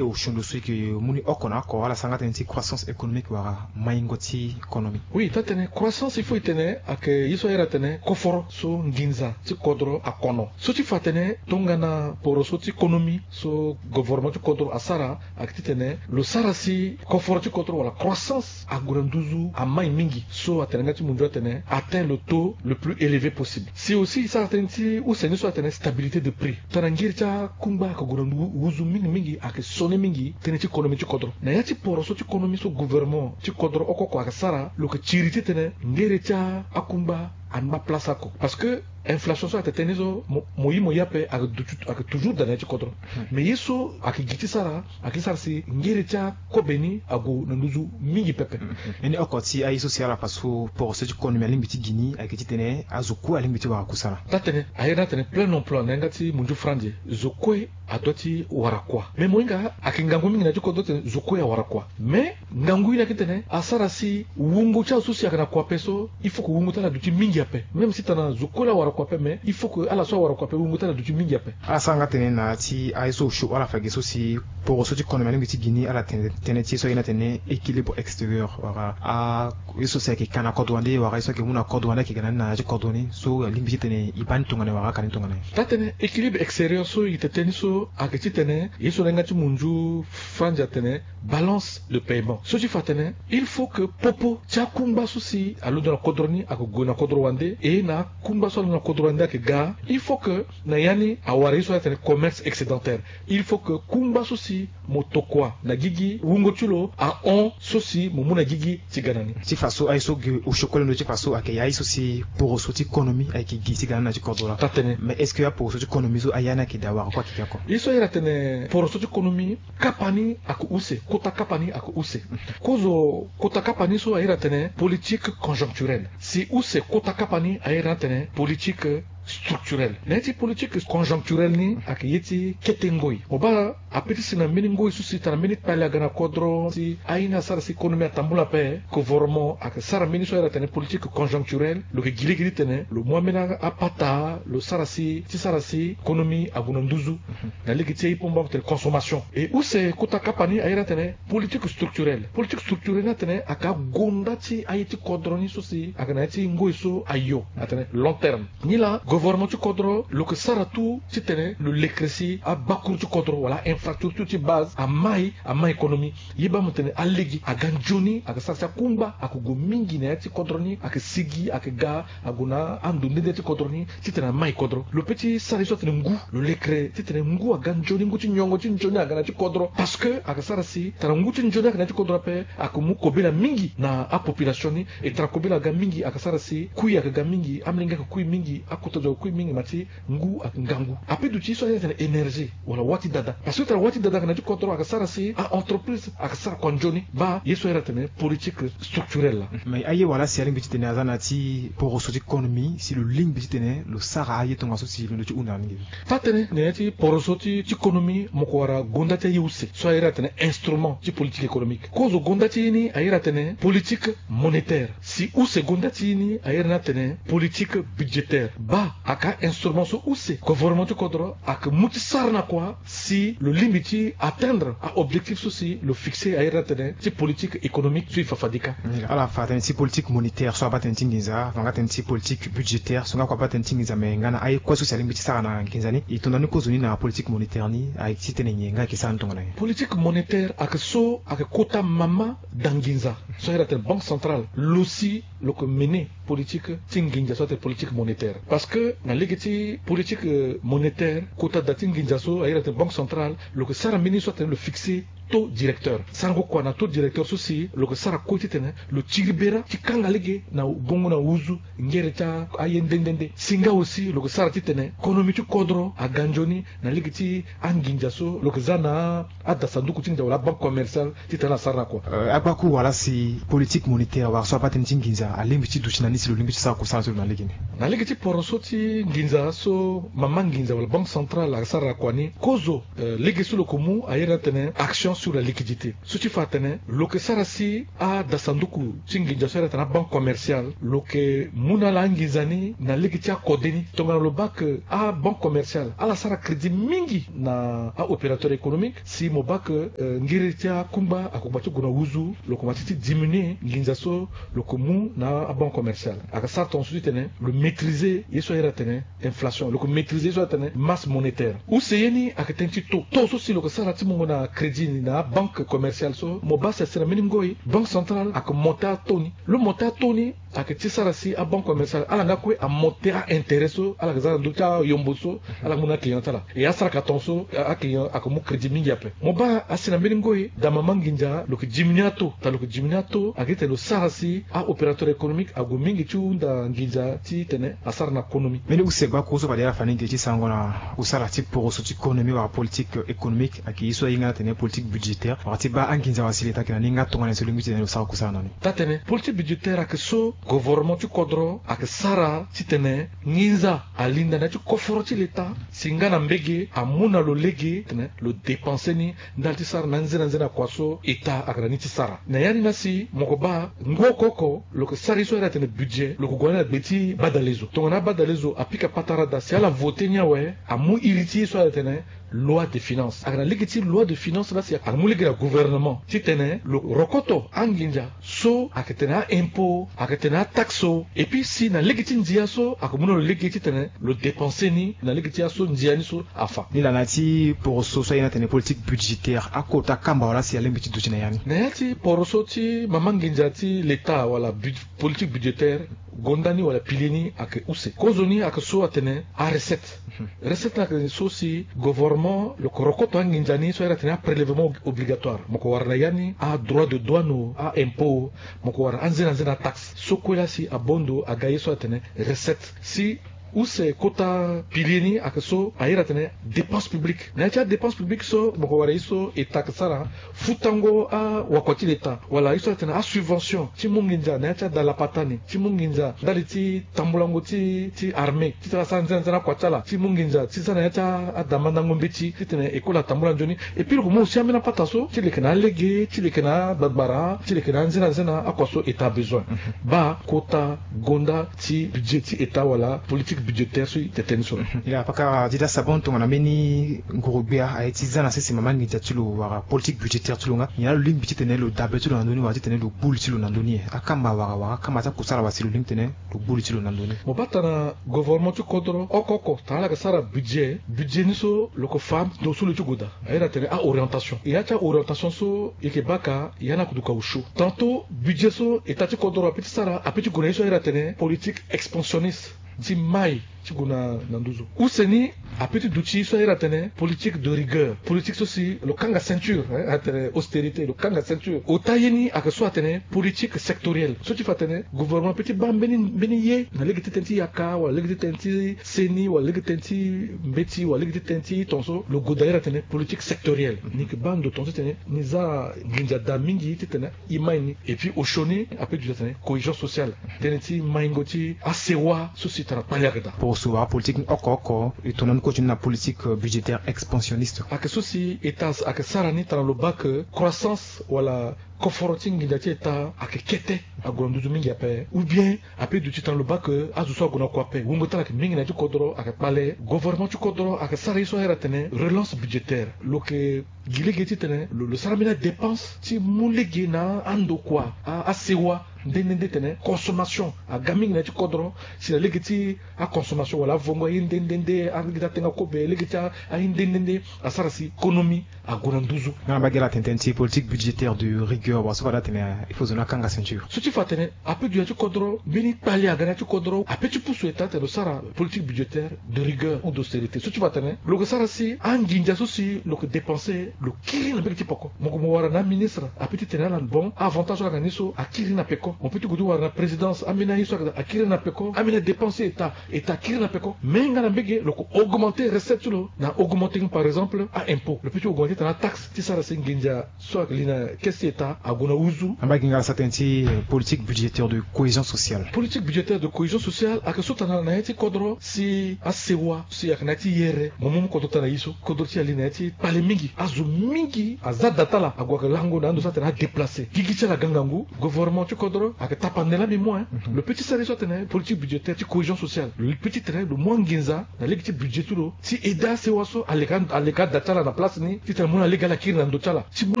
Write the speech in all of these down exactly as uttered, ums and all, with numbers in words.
Osio ndo so e yeke mu ni oko na oko ala sara nga tënë ti croissance économique wala maingo ti konomi. Oui, taa-tënë croissance il faut e tene ayeke ye so ahiri atene koforo so nginza ti kodro akono. So ti fa atene tongana poroso ti konomi so govornement ti kodro asara ayeke titene lo sara si koforo ti kodro wala croissance ague na nduzu amai mingi so atene nga ti mundu atene atteint le taux le plus élevé possible. Si aussi e sara tënë ti use ni so atene stabilité de prix tongana ngiri ti akungba ayeke gue na nduzu mingi mingi ayeke sonde mingi tënë ti konomi ti kodro. Na ya ti poroso ti konomi so govornement ti kodro oko oko ayeke sara lo yeke tiri titene ngiri ti akungba angba place oko. Parce que inflation so ayeke tene ni so mo, mo yi mo ye ape ayeke toujours daa na ya ti kodro. Mais ye so ayeke gi ti sara ayeke sara si ngiri ti akobe ni ague na nduzu mingi pepe. Ni oko ti aye so si ala fa so poroso ti konomi alingbi ti gi ni ayeke titene azo kue alingbi ti wara kusala. Taa-tënë ahiri ni atene plein emploi na yanga ti mundu franze zo kue adoit ti wara kua. Mais mo hinga ayeke ngangu mingi na ya ti kodro titene zo kue awara kua. Mais ngangu ye ni ayeke titene asara si wungo ti azo so si ayeke na kua ape so il faut que wungo ti ala aduti mingi ape. Même si tongana zo kue laa awara kua ape mais il faut que ala so awara kua ape wungo ti ala aduti mingi ape. Ala sara nga tënë na ya ti aye so osio ala fa ge so si poroso ti konomi alingbi ti gi ni ala tene tënë ti ye so aye ni atene équilibre extérieur wala a ye so si ayeke ka na kodro wande wala ye so ayeke mu na kodro wande ayeke ga na ni na ya ti kodro ni so alingbi titene e baa ni tongana wala aka ni tongana. Taa-tënë équilibre extérieur so e tene tënë ni so ayeke titene ye so na yanga ti mundu franze atene balance de paiement. So ti fa atene il faut que popo ti akungba so si alondo na kodro ni ayeke gue na kodro wande e na akungba so alondo na kodro wande ayeke ga. Il faut que na ya ni awara ye so atene commerce excédentaire. Il faut que kungba so si mo tokua na gigi wungo ti lo ahon so si mo mu na gigi ti ga na ni. Ti fa so aye so gi osio kue londo ti fa so ayeke ya ye so si poroso ti konomi ayeke gi ti ga na ni na ya ti kodro laa. Taa-tënë. Mais est-ce que aporoso ti konomi so aya ni ayeke daa wara kue ayeke gi oko? Ye so ahiri atene poroso ti konomi kapa ni ayeke use kota kapa ni ayeke use. Kozo kota kapa ni so ahiri atene politique conjoncturelle. Si use kota kapa ni ahiri ni atene politique structurelle. Na ya ti politique conjoncturelle ni ayeke ye ti kete ngoi. Mo baa ape ti si na mbeni ngoi so si tongana mbeni kpale aga na kodro si aye ni asara si konomi atambula ape govornement ayeke sara mbeni so ahiri atene politique conjoncturelle. Lo yeke gi lege titene lo mu ambeni apata lo sara si ti sara si konomi ague na nduzu. Na lege ti aye pomba tene consommation. E use kota kapa ni ahiri atene politique structurelle. Politique structurelle ni atene ayeke agonda ti aye ti kodro ni so si ayeke na ya ti ngoi so ayo atene long terme. Nilaa govornement ti kodro lo yeke sara tout titene lo lekere si abakuru ti kodro wala infrastructure ti base amai amai konomi. Ye baa mo tene alege aga nzoni ayeke sara si akungba ayeke gue mingi na ya ti kodro ni ayeke sigi ayeke ga ague na ando nde nde ti kodro ni titene amai kodro. Lo pe ti sara ye so atene ngu lo lekere titene ngu aga nzoni ngu ti nyongo ti nzoni aga na ya ti kodro. Parce que ayeke sara si tara ngu ti nzoni ayeke na ya ti kodro ape ayeke mu kobela mingi na apopulation ni. E tara kobela aga mingi ayeke sara si kui ayeke ga mingi amolenge ayeke kui mingi akota zo ayeke kui mingi ma ti ngu ayeke ngangu. Ape duti ye so ahiri atene énergie wala wâ ti dada. Parce que tara wâ ti dada ayeke na ya ti kodro ayeke sara si a-entreprise ayeke sara kua nzoni. Baa ye so ahiri atene politique structurelle laa. Mais aye wala si alingbi titene aza na ya ti poroso ti konomi si lo lingbi titene lo sara aye tongaso si londo ti hunda na ni nge. Taa-tënë na ya ti poroso ti ti konomi mo ko wara gonda ti aye use so ahiri atene instrument ti politique économique. Kozo gonda ti ye ni ahiri atene politique monétaire. Si use gonda ti ye ni ahiri ni atene politique budgétaire. Baa ayeke ainstrument so use govornement ti kodro ayeke mu ti sara na kua si lo lingbi ti atteindre aobjectif so si lo fixe ahiri ni atene ti politique économique so e fa fade kâ. Ala fa tënë ti politique monétaire so abaa tënë ti nginza fa nga tënë ti politique budgétaire so nga kue abaa tënë ti nginza me nga na aye kue so si alingbi ti sara na nginza ni e tonda ni kozo ni na politique monétaire ni aye ti tene nyen nga ayeke sara ni tongana nyen? Politique monétaire ayeke so ayeke kota mama da nginza so ahiri atene banque centrale lo si lo yeke mené politique ti nginza so atene politique monétaire. Parce que na lege ti politique monétaire kota da ti nginza so ahiri atene banque centrale lo yeke sara mbeni so atene lo fixe taux directeur. Sarango kua na taux directeur so si lo yeke sara kue titene lo tiri bera ti kanga lege na bongo na uzu ngere ti aye nde nde nde. Si nga aussi lo yeke sara titene konomi ti kodro aga nzoni na lege ti anginza so lo yeke za na adasanduku ti nginza wala banque commerciale titene asara na kua. Agbakuru wala si politique monétaire wala so abaa tënë ti nginza alingbi ti duti na ni si lo lingbi ti sara kusala ti lo na lege ni? Na lege ti poroso ti nginza so mama nginza wala banque centrale asara na kua ni kozo lege so lo yeke mu ahiri ni atene action sur la liquidité. So ti fa atene lo yeke sara si adasanduku ti nginza so ahiri atene abanque commerciale lo yeke mu na ala anginza ni na lege ti akode ni. Tongana lo baa ke abanque commerciale ala sara crédit mingi na aopérateur économique, si mo baa ke, eh, ngiri ti akungba akungba ti gue na wuzu, lo koma ti ti diminuer nginza so lo yeke mu na abanque commerciale. Ayeke sara tongaso titene lo maîtriser ye so ahiri atene inflation, lo yeke maîtriser ye so atene masse monétaire. Use ye ni ayeke tënë ti taux. Taux so si lo yeke sara ti mungo na crédit ni na abanque commerciale so, mo baa si asi na mbeni ngoi banque centrale ayeke monter ataux ni. Lo monter ataux ni ayeke ti sara si abanque commerciale ala nga kue amonter aintérêt so ala yeke za na ndö ti ayombo so ala yeke mu na aclient ti ala. E asara ka tongaso aclient ayeke mu crédit mingi ape. Mo baa asi na mbeni ngoi daa mama nginza lo yeke diminuer ataux. Daa lo yeke diminuer ataux ayeke ti tene lo sara si aopérateur économique ague mingi ti hunda nginza titene asara na konomi. Mbeni use gba kuru so fade ala fa ni ge ti sarango na usara ti poroso ti konomi wala politique économique ayeke ye so ahinga na tene politique budgétaire wala ti baa anginza wala si leta ayeke na ni nga tongana nyen so lo lingbi titene lo sara kusara na ni. Taa-tene politique budgétaire ayeke so gouvernement ti kodro ayeke sara titene nginza alinda na ya ti koforo ti leta si nga na mbege amu na lo lege titene lo dépenser ni ndali ti sara na anze na anze na kua so État ayeke na ni ti sara. Na ya ni na si mo yeke baa ngu oko oko lo yeke sara ye so ahiri atene budget lo yeke gue na ni na gbe ti badalezo. Tongana abadalezo apika patara daa si ala voter ni awe amu iri ti ye so ahiri atene loi de finance. Ayeke na lege ti loi de finance laa si ayeke mu lege na gouvernement titene lo rokoto anginza so ayeke tene a-impôt, ayeke tene ataxe so. Et puis si na lege ti ndia so ayeke mu na lo lege titene lo dépenser ni na lege ti aso ndia ni so afa. Nilaa na ya ti poroso so aye ni atene politique budgétaire, akota kamba wala si alingbi ti duti na ya ni? Na ya ti poroso ti mama nginza ti leta wala bud-, politique budgétaire, gonda ni wala pilier ni ayeke use. Kozoni ayeke so atene arecette. Recette ni ayeke so si gouvernement lo yeke rokoto anginza ni so ahiri atene aprélèvement ob-, obligatoire. Mo yeke wara na ya ni adroit de douane o, a-impôt o, mo yeke wara anze na anze na ataxe. So kue laa si abon ndo aga ye so atene recette. Si use kota pilier ni ayeke so ahiri atene dépense publique. Na ya ti adépense publique so mo yeke wara ye so État ayeke sara, futango awakua ti leta wala ye so atene asubvention ti mu nginza na ya ti ada lapata ni, ti mu nginza ndali ti tambulango ti, ti armée titene asara nzena nzena akua ti ala, ti mu nginza ti za na ya ti a, adamandango mbeti titene école atambula nzoni. Et puis lo yeke mu aussi ambeni apata so ti leke na alege, ti leke na agbagbara, ti leke na anzena nzena akua so État abesoin. Baa kota gonda ti budget ti État wala politique budgétaire so e tene ni so. Nilaa paka ti da sabon tongana mbeni nguru-gbia aye ti za na sese mama nginza ti lo wala politique budgétaire ti lo nga, nyen laa lo lingbi titene lo dabe ti lo na ndö ni wala titene lo gbu li ti lo na ndö ni? Akamba wala wala akamba ti akusala wala si lo lingbi titene lo gbu li ti lo na ndö ni? Mo baa tongana gouvernement ti kodro oko oko tongana ala yeke sara budget, budget ni so lo yeke fa ndo so lo ti gue daa. Ahiri atene a-orientation. E ya ti a-orientation so e yeke baa ka, e ya ni aduka osio. Tantôt budget so État ti kodro ape ti sara ape ti gue na ye so ahiri atene politique expansionniste ti mai ti gue na, na nduzu. Use ni ape ti duti ye so ahiri atene politique de rigueur. Politique so si lo kanga ceinture, hein, atene austérité, lo kanga ceinture. Ota ye ni ayeke so atene politique sectorielle. So ti fa atene gouvernement ape ti baa mbeni, mbeni ye na lege ti tënë ti yaka wala lege ti tënë ti seni wala lege ti tënë ti mbeti wala lege ti tënë ti tongaso, lo gue daa ahiri atene politique sectorielle. Ni yeke baa ndo tongaso titene ni za nginza daa mingi titene e mai ni. Et puis osio ni ape duti atene cohésion sociale, tënë ti maingo ti asewa so si tara kpale ayeke daa. Poroso wala politique ni oko oko e tongana ni kue ti ni na politique, euh, budgétaire expansionniste. Ayeke so si État ayeke sara ni tongana lo baa ke croissance wala koforo ti nginza ti État ayeke kete, ague na nduzu mingi ape, ou bien ape duti tongana lo baa ke azo so ague na kua ape. Wungo ti ala ayeke mingi na ya ti kodro ayeke kpale. Gouvernement ti kodro ayeke sara ye so ahiri atene relance budgétaire. Lo yeke gi lege titene lo, lo sara mbeni adépense ti mu lege na andokua, a, asewa nde nde nde titene consommation aga mingi na ya ti kodro. Si na lege ti aconsommation wala avongo aye nde nde nde, alege ti atenga kobe, lege ti a, aye nde nde nde asara si konomi ague na nduzu. Nga na mbage ala tene tënë ti politique budgétaire de rigueur, wala so fade atene il faut zo ni akanga ceinture. So ti fa atene ape dunia ti kodro, mbeni kpale aga na ya ti kodro, ape ti pusu État atene lo sara politique budgétaire de rigueur ou d'austérité. So ti fa atene lo yeke sara si anginza so si lo yeke dépenser lo kiri na mbage ti peko. Mo yeke mo wara na aministre ape ti tene ala bon, a-avantage so ala yeke na ni so akiri na peko. Mo peut ti gue ti wara na présidence, ambeni aye so ayeke daa akiri na peko, ambeni adépense état, état akiri na peko. Mais nga na mbege lo ko augmenter recette ti lo na augmenter nga par exemple a-impôt. Lo peut ti augmenter titene ataxe ti sara si nginza so ayeke li na caisse ti état ague na huzu. Amba gi nga ala sara tënë ti politique budgétaire de cohésion sociale. Politique budgétaire de cohésion sociale ayeke so tana na ya ti kodro si asewa si ayeke na ya ti yere mo mu kodro tana ye so kodro ti ali na ya ti kpale mingi, azo mingi aza da ti ala ague ayeke lango na ando so atene adéplacer. Gigi ti ala aga ngangu. Gouvernement ti kodro ayeke tapande laa mbi mu. Lo peut ti sara ye so atene politique budgétaire ti cohésion sociale. Lo peut ti tene lo mu anginza na lege ti budget ti lo si aide asewa so aleka aleka ada ti ala na place ni titene amu na lege ala kiri na ndö ti ala. Si mu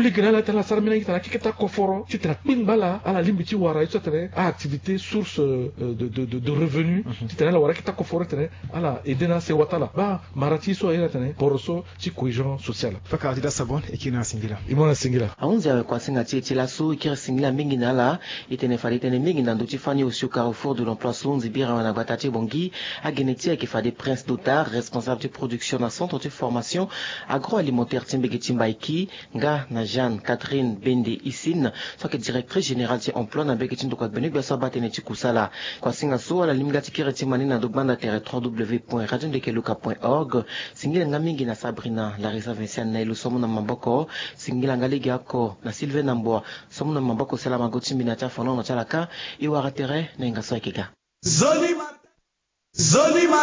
lege na ala titene ala sara mbeni akete akokoro titene akpengba ala ala lingbi ti wara ye so atene a-activité source de de de revenu titene ala wara akete akokoro titene ala aide na asewa ti ala. Baa mara ti ye so aye na tene poroso ti cohésion sociale. Fakara ti da sabon e kiri na ala singila. E mu na ala singila. Ahunzi awe kuasinga ti e ti laso e kiri singila mingi na ala. E tene fade e tene mingi na ndö ti fani osio carrefour de l'emploi so nzibiri awe na gbata ti bongi. Agene ti e ayeke fade Prince Dotard, responsable ti production na centre ti formation agroalimentaire ti mbege ti Mbaiki, nga na Jeanne Catherine Bende Isine so ayeke directrice générale ti emploi na mbege ti ndokua gbene gbia so abaa tënë ti kusala. Kuasinga so ala lingbi nga ti kiri ti ma ni na ndo gbanda tere trois w point radio ndeke luka point org. Singila nga mingi na Sabrina Larisa Vinciane na e lo so amu na maboko. Singila nga lege oko na Sylvain Namboa so amu na maboko salama go ti mbi na ya ti afonono ti ala ka. E wara tere na hinga so ayeke ga. Zoli ma. Zoli ma.